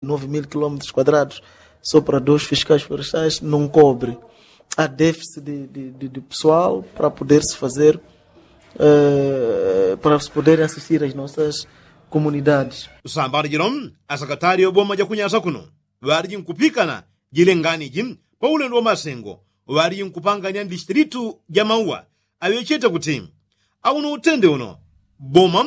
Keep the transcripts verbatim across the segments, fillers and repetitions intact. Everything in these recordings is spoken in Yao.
Nove mil quilômetros quadrados só para dois fiscais florestais não cobre. Há déficit de, de, de, de pessoal para poder se fazer, eh, para se poderem assistir as nossas comunidades. Sambano jino, asakatali oboma jakunyasa kuno ŵaliji nkupikana jile ngani ji pa ulendo wa masengo ŵaliji nkupangania ndistilitu ja mauwa aŵechete kuti auno utende uno boma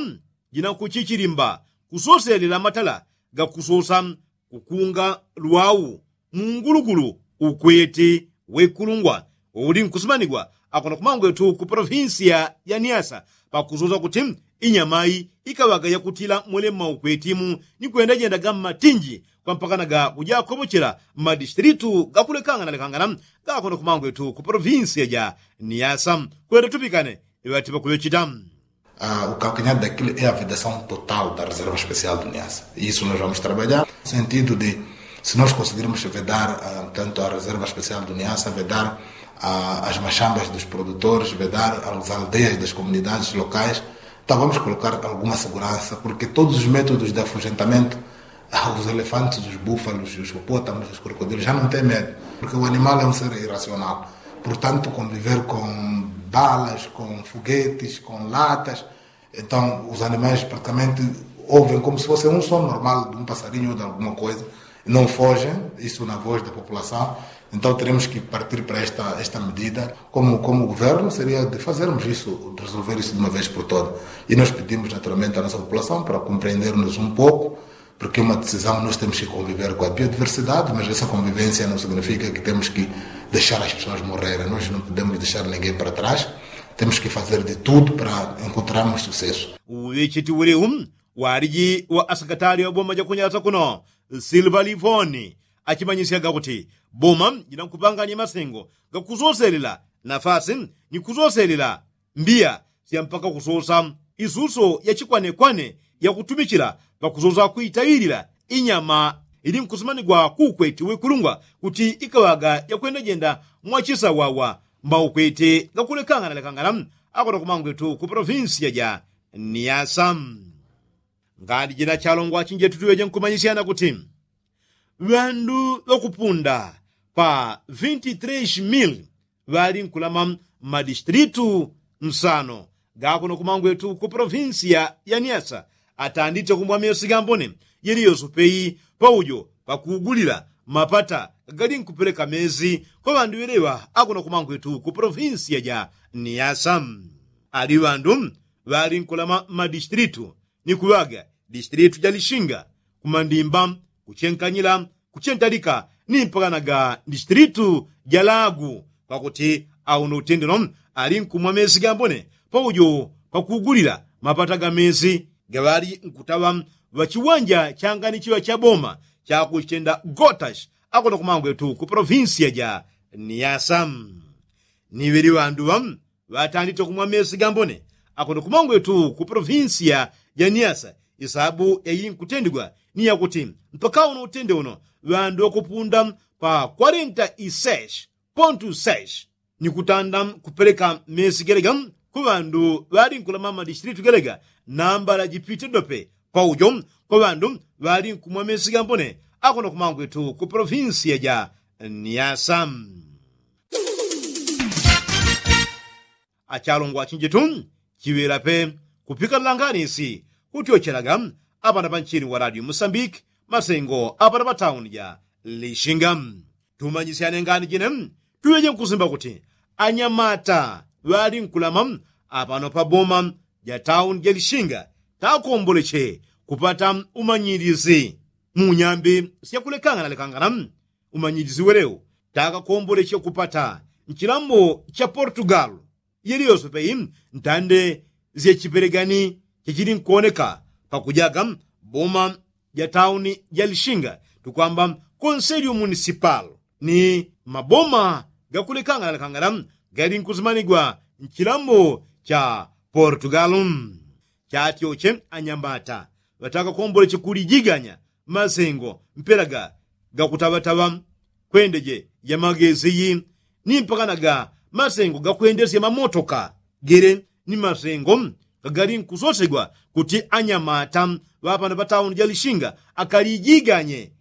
jinakuchichilimba kusoselela matala gakusosa kukunga lwau mungulugulu ukweti wekulungwa uli nkusimanigwa akuno kumangwetu ku polofinsiya ya niasa pakusosa kuti inyamayi ikaŵaga yakutila mwele mmaukwetimu ni kwenda jendaga mmatinji kwa mpakanaga kujakopochela mmadistilitu gakulekangana lekangana gakuno kumangwetu ku polofinsiya ja niasa kwenda tupikane iŵati pakuŵechita. Ah, o calcanhar daquilo é a vedação total da reserva especial do niasa. Isso nós vamos trabalhar no sentido de, se nós conseguirmos vedar tanto a reserva especial do niasa vedar as machambas dos produtores vedar as aldeias das comunidades locais, então vamos colocar alguma segurança porque todos os métodos de afugentamento, os elefantes, os búfalos, os hipopótamos, os crocodilos já não tem medo, porque o animal é um ser irracional. Portanto, conviver com balas, com foguetes, com latas, então os animais praticamente ouvem como se fosse um som normal de um passarinho ou de alguma coisa, não fogem. Isso na voz da população. Então teremos que partir para esta medida como governo seria de fazermos isso, de resolver isso de uma vez por toda. E nós pedimos naturalmente a nossa população para compreendermos um pouco, porque uma decisão nós temos que conviver com a biodiversidade mas essa convivência não significa que temos que deixar as pessoas morrerem nós não podemos deixar ninguém para trás. Temos que fazer de tudo para encontrarmos sucesso. Uŵecheti ulewu waliji wa asakatali wa boma jakunyasa kuno silva livoni achimanyisyaga kuti boma jinankupanganya masengo gakusoselela nafasi ni kusoselela mbiya sya mpaka kusosa isuso ya chikwanekwane yakutumichila pakusosa kuitayilila inyama ili nkusimanigwa kukweti wekulungwa kuti ikaŵaga yakwenda jenda mwachisawawa maukweti gakulekangana lekangana akono kumangwetu ku polofinsiya ja niasa. Ngani jina chalongwa chinjetu tuŵeje nkumanyisyana kuti ŵandu ŵakupunda pa vinti tres mil ŵali nkulama mmadistilitu nsano gakuno kumangwetu ku polofinsiya ya niasa atandite kumwa mesi gambone yeliyoso peyi paujo pakugulila mapata gali nkupeleka mesi kwa ŵandu ŵeleŵa akuno kumangwetu ku polofinsiya ja niasa. Ali ŵandu ŵali nkulama mmadistilitu ni kuŵaga distilitu ja lishinga kumandimba kuchenkanyila kuchentalika ni mpakanaga distilitu ja lagu kwakuti auno utendeno ali nkumwa mesi gambone paujo pakugulila mapata ga mesi gaŵali nkutaŵa ŵachiwanja changani chiŵa cha boma chakuchitenda gotashi akuno kumangwetu ku polofinsiya ja niasa. Ni ŵeli ŵandu ŵa ŵatandite kumwa mesi gambone akuno kumangwetu ku polofinsiya ja niasa. Isabu yainkutendegwa ni yakuti mpaka uno utende uno ŵandu ŵakupunda pa kwarenta iseshi pontu seshi ni kutanda kupeleka mesi gelega ku ŵandu ŵali nkulama mmadistilitu gelega nambala jipite dope paujo kwa ŵandu ŵali nkumwa mesi gambone akuno kumangwetu ku polofinsiya ja niasa. Achalongwa chinjitu chiŵela pe kupikanila nganisi kutyochelaga apana panchini wa radio musambiki masengo apana patauni ja lishinga. Tumanyisyane ngani jine tuŵeje nkusimba kuti anyamata ŵali nkulama apano paboma ja tauni ja lishinga takomboleche kupata umanyilisi mu nyambi syakulekangana lekangana. Umanyilisi welewu takakomboleche kupata nchilambo cha portugal yeliyoso peyi ntande syachipelegani chachili nkuoneka pakujaga boma ja tauni ja lishinga tukwamba konselio munisipal ni maboma gakulekangana lekangana gali nkusimanigwa nchilambo cha portugal. Chatyoche anyamata ŵatakakomboleche kulijiganya masengo mpela ga gakutaŵataŵa kwendeje ya magesi yi ni mpakana ga masengo gakwendesya mamotoka gele ni masengo gagali nkusosegwa kuti anyamata ŵapano patauni ja lishinga akalijiganye